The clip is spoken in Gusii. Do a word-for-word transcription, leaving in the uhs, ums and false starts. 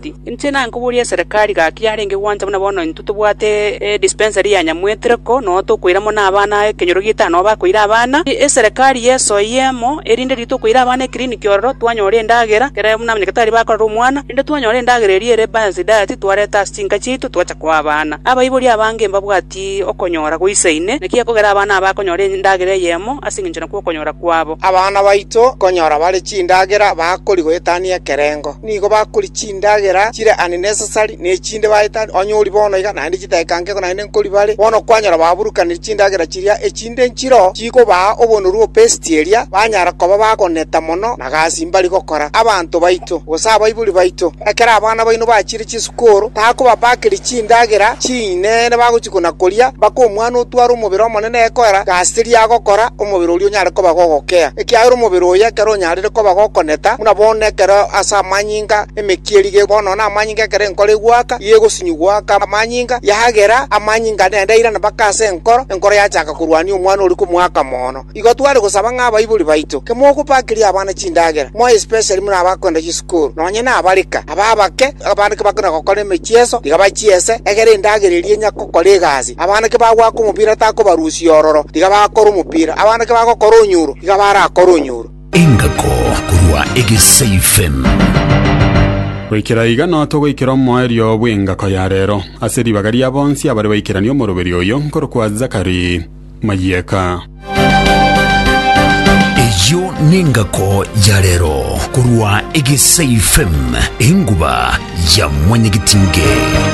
Inche nankoboria eserekari gaki yarenge gwancha buna bono intwe tobwate edispensary ya Nyamwetereko noo tokoira mono abana ekenyoro gietano noo bakoira abana, eserekari yesoyie emo erinde riria tokoira abana eclinic ororo twanyora endagera ekere buna abanyagetari bakorora omwana, rende twanyora endagera eria ere balanced diet twareta ase chinka chiaito twacha koa abana. Abaibori abange mbabwati okonyora goisaine, naki ekogera abana aba bakonyora endagera eyemo ase eng'encho nakwo okonyora kwabo. Abana baito konyora bare chindagera bakori goetania ekerengo. Nigo bakori chindagera chire unnecessary na echinde baetania onye ori bono iga naende chidakika nkego naende nkori bare bono kwanyora baburukaniri chindagera chiria echinde nchiro chikobaa obonoru obesity eria banyara koba bagoneta mono na gasi mbari gokora. Abanto baito gose abaibori baito ekero abana baino bachire chisukuru takobapakeri chindagera chinene bagochi kona koria mpaka omwana otware omobere omonene ekoera gasi teri agokora omobere oria onyare koba gogokea. Ekiagera omobere oyo ekero onyarire koba gokoneta buna bono ekero ase amanyinga emekia eria bono na amanyinga ekero enkoro egwaka iga egosinywa goaka amanyinga yagera amanyinga naende airana mpaka ase enkoro, enkoro yachaka korwania omwana oria komoaka mono. Igo tware gosaba ng'a abaibori baito kemogopakeria abana chindagera more especially buna abakoenda chisukuru nonye na abarika aba abake abana kebakona gokora emechieso tiga bachiese egere endagera eria enya gokora egasi. Abana kebagwaka omopira takobarusia ororo tiga bakora omopira, abana kebagokora onyuro tiga barakora onyuro. Engako korwa Egesa F M. Goikera iga no togoikera omoerio bw'engako ya rero ase ribaga ria bonsi abare baikerania omoroberi oyo nkorokwa Zakari Mayeka. Eyo nengako ya rero korwa Egesa F M, enguba ya Mwanyagetinge.